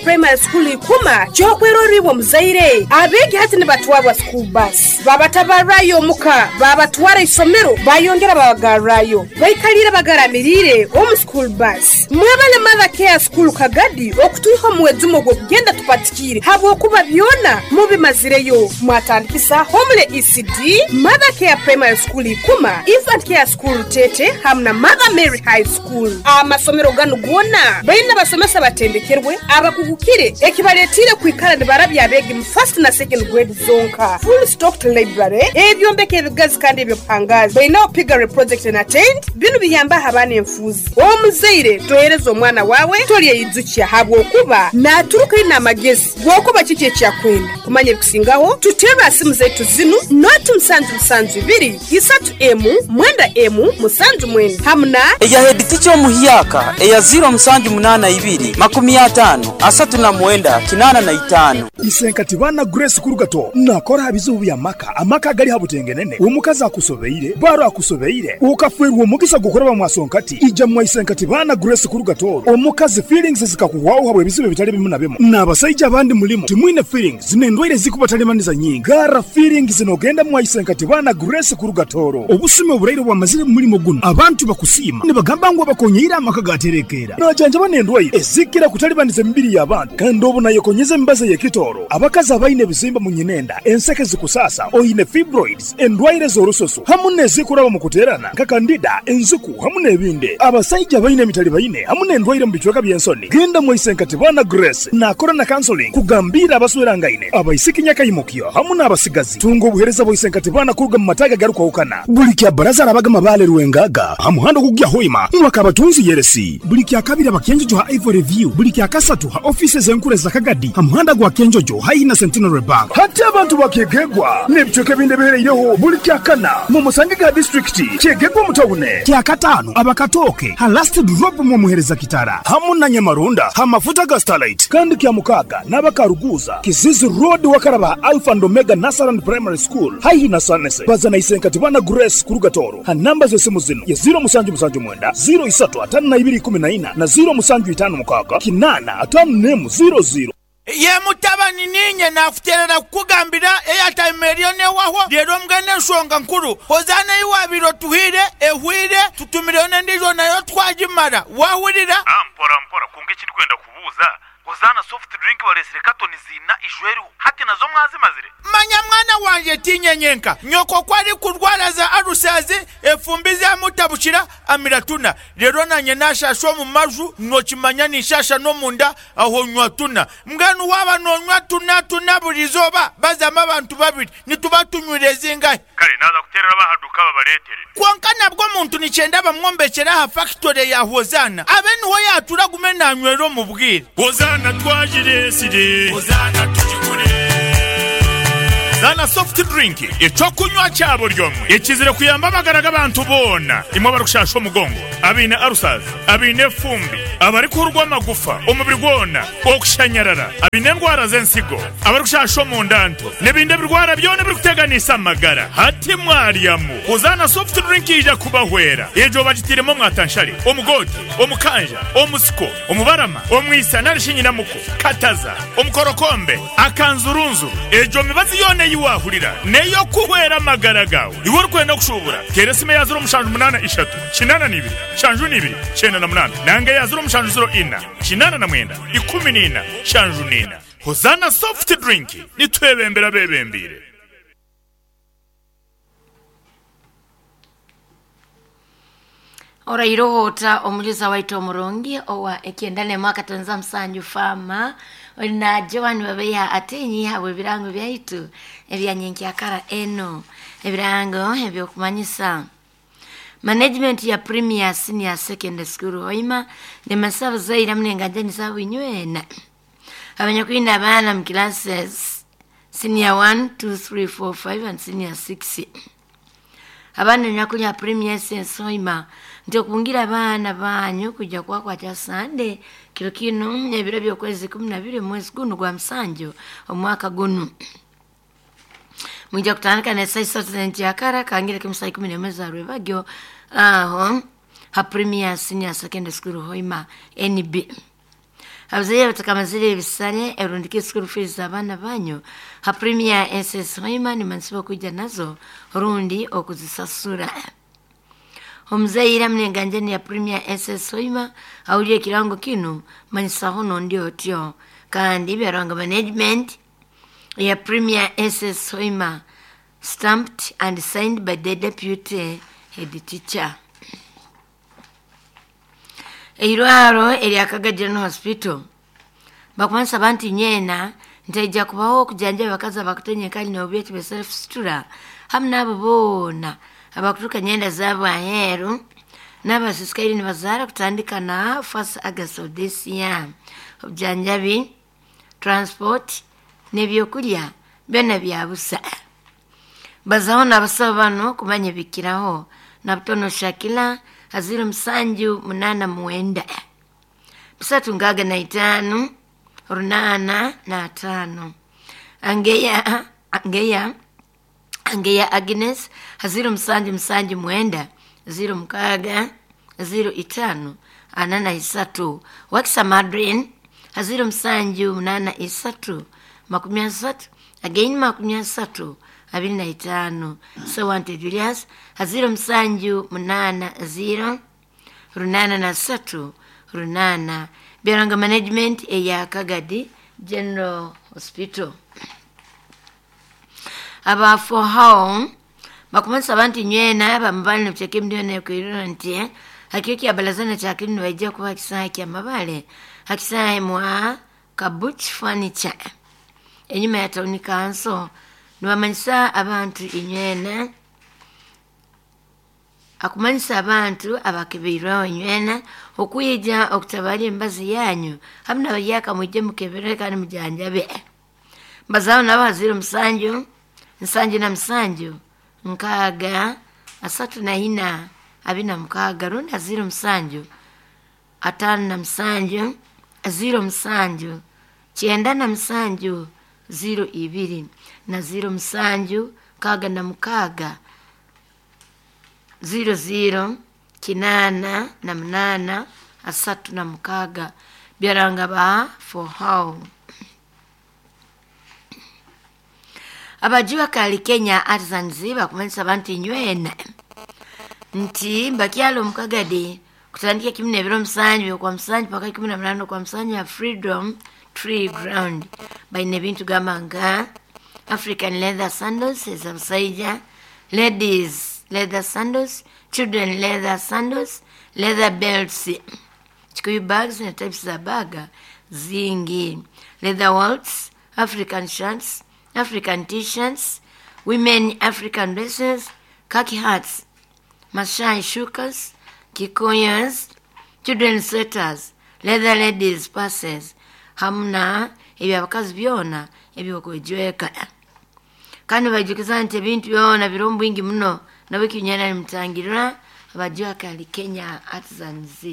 Primary School Ikuma ky'okwerorra iwe omuzaire. Abeegi hati nibatwarwa school bus, babatabarrayo omuka, babatwara isomero, bayongera babagarrayo. Baikaliire bagaramiriire omu school bus. Mwebale Mother Care School Kagadi okutwiha omu mwejumo ogw'okugenda tupatikiire habwokuba byona mubimazireyo. Mwatandikisa Homely ECD, Mother Care Primary School Ikuma, Infant Care School Rutete hamu na Mother Mary High School. Amasomero ganu goona baine abasomesa abatendekerwe, abakugukire ekibaletiire kwikara nibarabya abeegi mu first na second grade zonka. Full stocked library, ebyombeko ebigazi kandi eby'obuhangaazi. Baineho piggery project and attained. Binu biyambaho abaana enfuuzi. Omuzaire tohereza omwana waawe tolyeyijukya habwokuba naaturuka aine amagezi g'okuba kiki eki akwenda. Kumanya ebikusingaho, tuterre ha simu zaitu zinu, noti musanju musanju ibiri, isatu emu, mwenda emu, musanju mwenda hamu na. Eya heeditica omuhyaka eya ziiro musanju munaana ibiri, makumi ataano, asatu na mwenda, kinaana na itaano. Isenkati baana Grace Kurugato nakora ha bizibu bya maka, amaka agali ha butengenene, omukazi akusobeire, baro akusobeire, okafwerwa omugisa gw'okuraba mwa Sonkati, ija mwa Isenkati baana Grace Kurugato, omukazi feelings zikakuhwaho habw'ebizibu ebitali bimu na bimu, n'abasaija abandi mulimu timwine feelings n'endwaire ezikubatalibanisa nyingi, garra feelings nogenda mwa Isenkati baana Grace Kurugatoro. Obusumi oburaire obwamazire mu mulimo gunu, abantu bakusiima nibagamba ngu abakonyeire amaka gaterekeera. Najanjaba n'endwaire ezikira kutalibaniza emibiri y'abantu kandi obu nayekonyeza emibazi ey'ekitooro. Abakazi abaine ebizimba mu nyinenda, enseke zikusaasa, oine fibroids, endwaire z'orususu hamu n'ezikuraba omu kuteerana nka kandida, enziku hamu n'ebindi. Abasaija abaine emitalibaine hamu n'endwaire omu bicweka by'ensoni, genda mwaise Nkatibana Grace naakora na counseling kugambiira abaswerangaine, abaisiki nyakaimukyo hamu n'abasigazi. Tunga obuheereza bwa Isenkatibana kuruga mu mataagi agarukwahukana. Buli kya Baraza arabaga Mabaale Rwengaga ha muhanda ogukugya Hoima mwaka Abatunzi Yeresi. Buli kya Kabiri aba Kyenjojo ha Ivory View. Buli kya Kasatu ha ofiisi ez'enkuru eza Kagadi ha muhanda gwa Kyenjojo haihi na Centenary Bank. Hati abantu ba Kyegegwa n'ebicweka ebindi ebihereireho buli kya Kana mu musange ga disiturikiti Kyegegwa omu tawune. Kya Kataano aba Katooke ha Last Drop mw'omuhereza Kitara hamu na Nyamarunda ha mafuta ga Starlight. Kandi kya Mukaaga n'aba Karuguuza, Kizizi Road wakaraba ha Alpha and Omega Nursery and Primary School haihi na Sanese. Baza na Isenkatibana Grace kuruga Tooro ha namba z'esimu zinu ye ziiro musanju musanju mwenda, ziiro isatu ataano na ibiri ikumi na ina na ziiro musanju itaano mukaaga kinaana ataano n'emu ziiro ziiro. Ye mutabani, niinye naakuteerera kukugambira eyataima eriyo n'ewahwo. Reero mbwenu enshonga nkuru, Hozaana ei waabaire otuhaire ehweire, tutumireyo n'endiijo nayo twagimara. Waahurira? Mpora mpora, kwonka eki ndikwenda kubuuza, Hozaana soft drink bareetsire katoni ziina ijo eriho, hati nazo mwazimazire? Manya mwana wangye, tiinye nyenka. Nyoko ku arikurwara za alusazi, efumbi zamutabukira, amira tuna. Reero naanye naashaasha omu maju, nookimanya ninshaasha n'omunda, aho nywa tuna. Mbwenu waaba noonywa tuna tuna buri izooba, bazamu abantu babiri, nituba tunywire zingahi? Kare naaza kuteerera ab'aha duuka babareetere. Kwonka nabwo omuntu nikyenda bamwombekyere aha fakitore ya Hozaana, abe niho yaatuura agume naanywera omu bwire. Hozaana twagireetsire. Hozaana tugigure. Hozaana soft drink, eky'okunywa kya buri omwe ekizire kuyamba amagara g'abantu boona, imwe abarikushasha omugongo, abaine ulcers, abaine efumbi, abarikuhurwa amagufa omubiri gwona, okushanyarara, abaine endwara z'ensigo, abarikushasha omunda nto, n'ebindi ebirwara byona ebirikuteganiisa amagara. Hati mwaryamu Hozaana soft drink eija kubahwera. Egyo bagitairemu omwatanshare, omugoote, omukanja, omusiko, omubarama, omwisa nari shi nyinamuko, kataza, omukorokombe, akanzurunzuru. Egyo mibazi yoona ei waahurira n'ey'okuhwera amagara gaawe. Iwe orikwenda kushuubura, teera esimu eya ziro mushanju munaana ishatu, kinaana na ibiri, nshanju na ibiri, kyenda na munaana nanga eya ziro mushanju ziro ina, kinaana na mwenda, ikumi na ina, nshanju na ina. Hozaana Soft Drink, nitwebembera abeebembeire. Orairoho ota omuliza waitu omurungi owa ekyenda n'emu akatonza musanju faama oli na Joan Babeiha Atinyi habw'ebirango byaitu ebya nyenkyakara enu. Ebirango eby'okumanyisa Management ya Premier Senior Secondary School Hoima nemanyisa abazaire hamu n'enganjani zaabo inywena abanyakwine abaana mu classes Senior 1, 2, 3, 4, 5 and Senior 6. Abaana enyakuli ha Premier SS Hoima nti okungira abaana banyu kwija kubakwata Sande kiro kinu ebiro by'okwezi 12 mwezi gunu gwa musanju omwaka gunu. Mwija kutandika n'esaaha isatu z'enkyakara kangire kimu saa ikumi n'emwe za rwebagyo aho ha Premier Senior Secondary School Hoima NB. Abazaire batakamazire ebisale erundika school fees z'abaana banyu ha Premier SS Hoima nimansiba okwijja nazo rundi okuzisasura. Omuzaire amnenganjani ya Premier SS Hoima awulire ekirango kinu manyisaho nondi otyo kandi byaranga management ya Premier SS Hoima, stamped and signed by the deputy head teacher. Eirwaro erya Kaga General Hospital bakumanisa bantu nyena ntaija kubaho okujanja abakazi abakutenye kali n'obubyeti bya self sutura hamu n'abo boona abakuturuka nyenda zaabo aheeru n'abasisikaire nibazaara kutandika na 1st August of this year. Obujanjabi, transport n'ebyokurya byona bya busa. Bazaho n'abasawo bano kumanya ebikiraho na butono Shakila 0789 365 805. Angeya Angeya Angeya Agnes 0779 06 05 43. Wakisa Madrin 0783 30 again 30 25. Sewante Julius 0780 83 8. Byaranga management eya Kagadi General Hospital. Abafohao bakumanisa abantu nywena bamabale nekuteeka emiliyoni nekwirira nti hakio kya balazana kyakiri nibaija kuba hakisaha kya mabale hakisaha mwa Kabuch Furniture enyuma ya town council. Nibamanyisa abantu inywena akumanyisa abantu abakebeirweho inywena okwija okutabara embazi yanyu hamu nabaryaka mwije mukebere kandi mujanjabe. Mbazaho nabo 07 77 6 34 26 rundi 07 57 07 97 02 na 07 66 00 88 36. Byaranga ba for how. Abajiwa kali Kenya Artisans bakumanyisa abantu nywena nti mbakyalo mukagadi kutandika 17 kwa 7 paka 18 kwa 7 ya Freedom Tree Ground baine ebintu gamba nga African leather sandals ez'abasajja, ladies leather sandals, children leather sandals, leather belts, kikuyu bags na types za baga zingi, leather wallets, African shirts, African t-shirts, women African dresses, khaki hats, Masai shukas, Kikuyas, children sweaters, leather ladies purses, hamna ebyabakazi byona ebyokwejweka. Kandi bajukiza nti ebintu byona biri bwingi muno nabo kinyana nimutangirira abajua kali Kenya Artisans.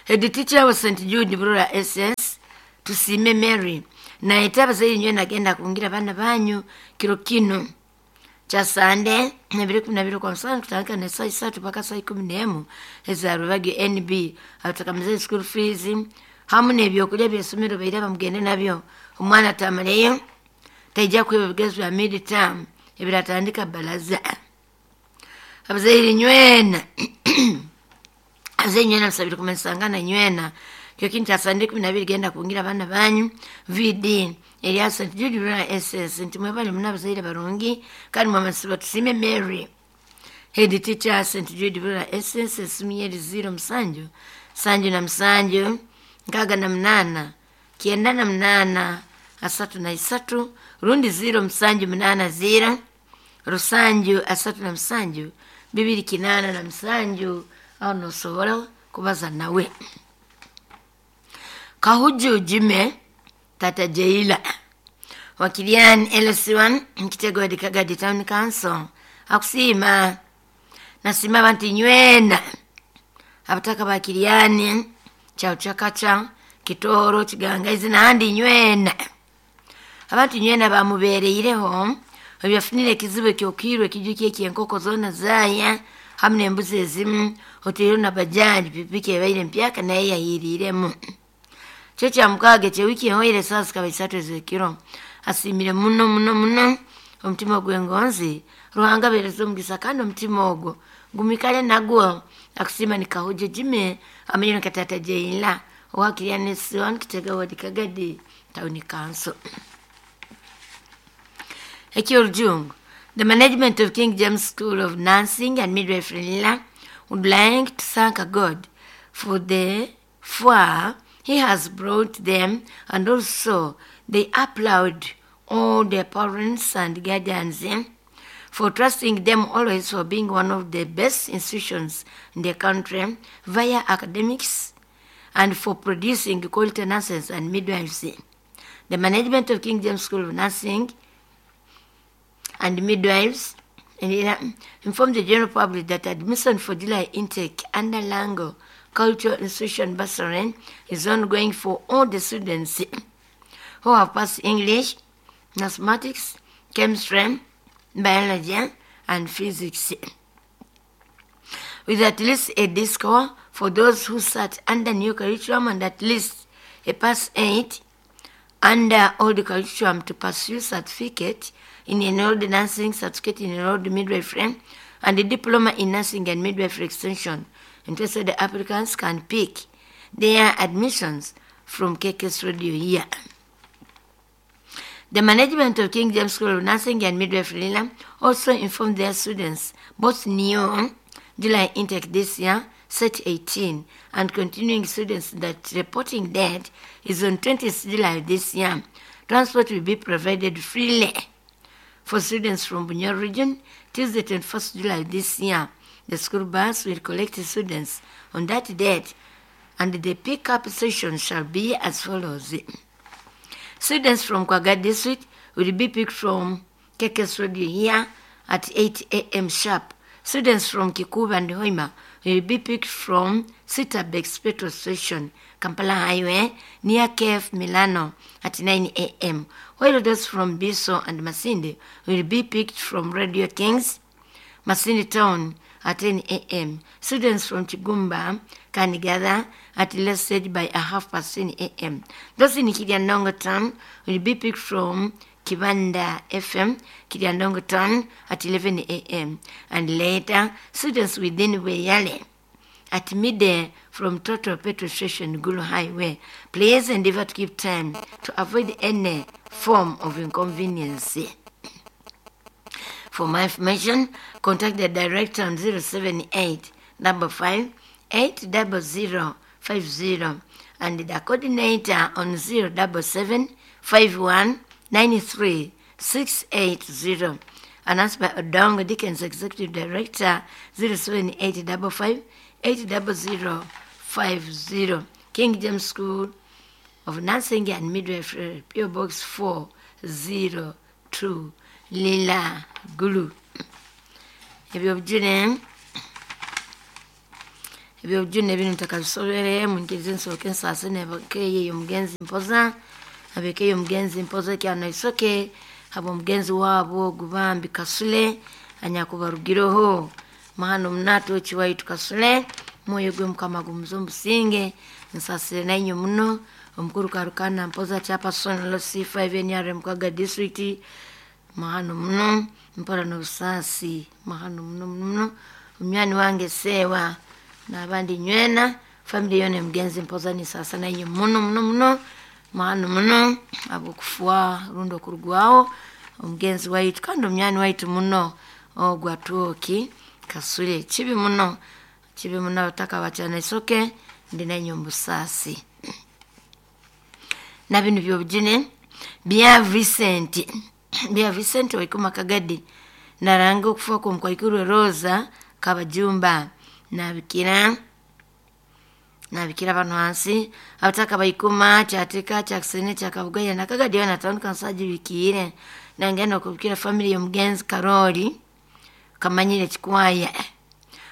Head teacher wa St Jude Burora SS Tusime Mary na etabazaire nywe nagenda kungira bana banyu kiro kino cha Sande 12 kwa msana kutandika na saa 3 mpaka saa 11 eza Rubagi NB abatakamizeni school fees hamu n'ebyokulya by'essomero baire bamugende nabyo. Omwana tamaleyo taija kweba ebigezo bya mid term ebiratandika balaza. Abazaire nywena abazaire nywena musabire kumanyisangana nywena kyo kintu kya Sande 12 genda kungira abana banyu VD erya St Jude Burora SS nti mwebale muna abazaire barungi kandi mwamasiba Tusime Mary head teacher St Jude Burora SS esimu 07 77 68 98 33 rundi 0780 rusanju 37 287 aho nosobora kubaza nawe. Kahuju Jime Tata Jeila Wakilian LC1 Kitego ya Kagadi Town Council akusima nasima abantu nywena abataka bakiliani chauchakacha Kitoro Kigangaizi n'ahandi nywena abantu nywena bamubereireho ebyafunire ekizibu ekyokirwe ekijuki ekyenkoko zoona zaaya Hamu n'embuzi ezimu otaireho na bajaji pikipiki ebaire empyaka nayo yahiiriiremu. Kiro kya mukaaga eky'ewiiki ehoire esaaha zikaba isatu ez'ekiro. Asiimire muno muno muno omutima gw'engonzi Ruhanga abaheereze omugisa kandi omutima ogwo gumwikale nagwo. Akusiima ni Kahujo Jimmy amanyirwe nka Taata Jeila owa Kiryani S1 Kitega Ward Kagadi Town Council. Eky'orujungu, The management of King James School of Nursing and Midwifery Lira would like to thank God for the far he has brought them, and also they applaud all their parents and guardians for trusting them always for being one of the best institutions in the country via academics and for producing quality nurses and midwives. The management of King James School of Nursing and Midwives and informed the general public that admission for July intake under Lango Cultural Institution Bursary is ongoing for all the students who have passed English, mathematics, chemistry, biology, and physics, with at least a D score for those who sat under new curriculum and at least a pass 8 under old curriculum to pursue certificate in enrolled nursing, certificate in enrolled midwifery, and a diploma in nursing and midwifery extension. Interested applicants can pick their admissions from KKS Radio here. The management of King James School of Nursing and Midwifery Lila also informed their students, both new July intake this year, set 18, and continuing students that reporting date is on 20th July this year. Transport will be provided freely for students from Bunyoro region Tuesday 21st July this year. The school bus will collect students on that date, and the pickup session shall be as follows. Students from Kwaga district will be picked from KKS Radio here at 8 a.m. sharp. Students from Kikuba and Hoima will be picked from Sitabex petrol station, Kampala Highway, near KF Milano at 9 a.m. While those from Biso and Masindi will be picked from Radio Kings, Masindi Town at 10 a.m. Students from Chigumba can gather at last stage by 10:30 a.m. Those in Kiryandongo Town will be picked from Kibanda FM, Kiryandongo Town at 11 a.m. And later, students within Weyale at midday from Total Petrol Station, Gulu Highway. Please endeavor to keep time to avoid any form of inconvenience. For more information, contact the director on 078 55 80050 and the coordinator on 077 51 93 680. Announced by Odongo Dickens, Executive Director, 078 55 80050. King James School of Nursing and Midwifery, PO Box 402, Lila Gulu. Ebyobujune bino ntakabisobere munkirize nsooke nsaase nebakeeyo omugenzi mpoza abekeeyo omugenzi mpoza kyano isoke abo omugenzi waabo gubambi Kasule anyakubarugireho mahano munato okiwaitu Kasule mwoyo gwe Mukama gumuze omubusinge nsasire nainye muno omukuru Karukana mpoza chairperson C5 NRM Kaga district mahano muno mpora n'obusaasi mahano muno muno omunywani wange sewa n'abandi nywena family yona omugenzi mpoza nisasa nainye muno muno muno mahano muno abwokufuwa rundi okurugwaho omugenzi waitu kandi omunywani waitu muno ogwa Twoki Kasule kibi muno abataka bakyana isoke ndi nainye omubusaasi. Na binu byobujune bya Vincent waikuma Kagadi naranga okufa kw'omukwaikuru Rosa Kabajumba nabikira bano hansi abataka baikuma kyateka kyakisene kyakabugaya nakagadi yona tawuni kansagibikiire nangenda okubikira family y'omugenzi Karoli kamanyire kikwaya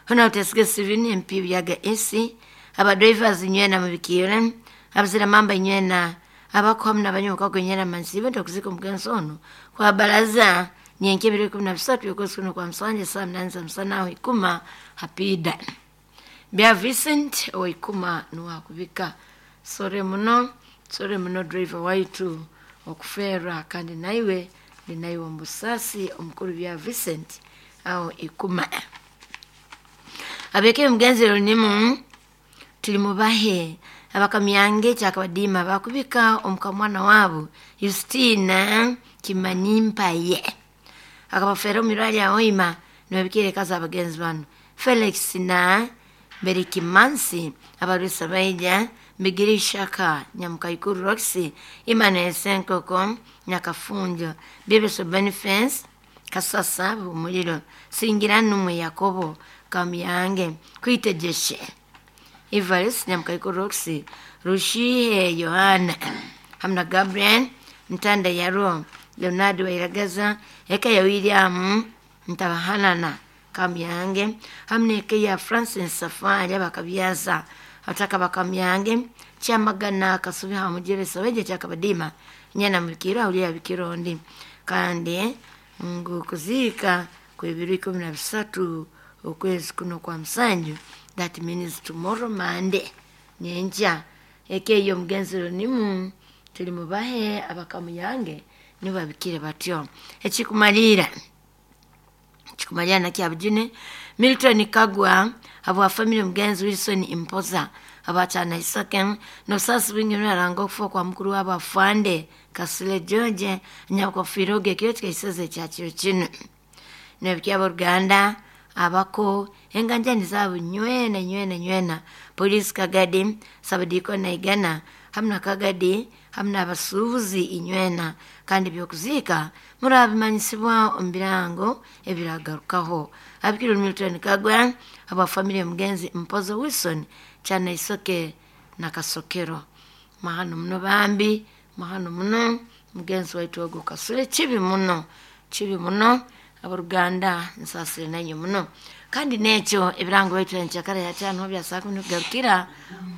hona utesige Steven MP byaga AC abadrivers nywena mubikiire abazira mamba nywena abakuhamu n'abanywa kago nywena mansibe ntokuzika omugenzi ono kwa baraza Nyenke ebiro 13 okwezi kuno kwa musanju saa 8 za msana aho ikuma hapida. Bya Vincent oikuma nuwakubika. Sore muno, sore muno driver waitu okufera kandi naiwe ndi naiwe omusasi omukuru bya Vincent aho ikuma. Abeke mugenzi runimu tuli mubahe abakamyange kyakabadima bakubika omukamwana wabo Justina Kimanimpaye akabafera omirwali aoima nibabikire kaza abagenzi bano Felix na Berikimansi abarwisa baija Migiri Shaka Nyamukaikuru Roxy Emmanuel Senkoko Nyakafunjo Bibeso Benefence Kasasa Bumuliro Singira Numwe Yakobo Kamyange Kwitegeshe Evarist Nyamukaikuru Roxy Rushihe Yohana hamna Gabriel Mtanda Yaro Leonardo Wairagaza eka ya William Ntabahanana Kamyange hamna eka ya Francis Safari abakabyaza ataka bakamyange kyamagana kasubi hamujere saweje kyakabadima nyana mukiro aulia bikirondi kandi ngu kuzika kwebiro 13 okwezi kuno kwa musanju, that means tomorrow Monday nyenja ekeyo mugenzi ronimu tuli mubahe abakamuyange nibabikire batyo. Ekikumalira kikumalira nakyabujune Milton Kagwa abwa family mugenzi Wilson Impoza abachana Isake nosasi wingi naranga okufa kwa mukuru w'abafande Kasule George nyakufiroge kyo kikaiseze kyakiro kino nebyabo Ruganda abako enganjani zabo nywena nywena nywena polisi Kagadi sabadiko na igana hamna Kagadi hamna abasuubuzi inywena kandi byokuzika murabimanyisibwa omubirango ebiragarukaho. Abikiro Milton Kagwa aba family mugenzi Mpozo Wilson chana Isoke na Kasokero mahano muno bambi mahano muno mugenzi waitu ogo Kasule chibi muno chibi muno abaruganda nsasire nanyo muno kandi nekyo ebirango baitu enkyakara ya kyano bya saa kumi kugarukira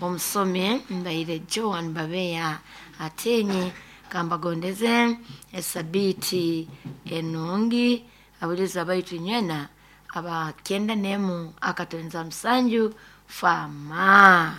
omusomi mbaire Joan Babeya atenye kambagondeze esabiti enungi abuliza baitu nywena aba 91 akatonza musanju fama.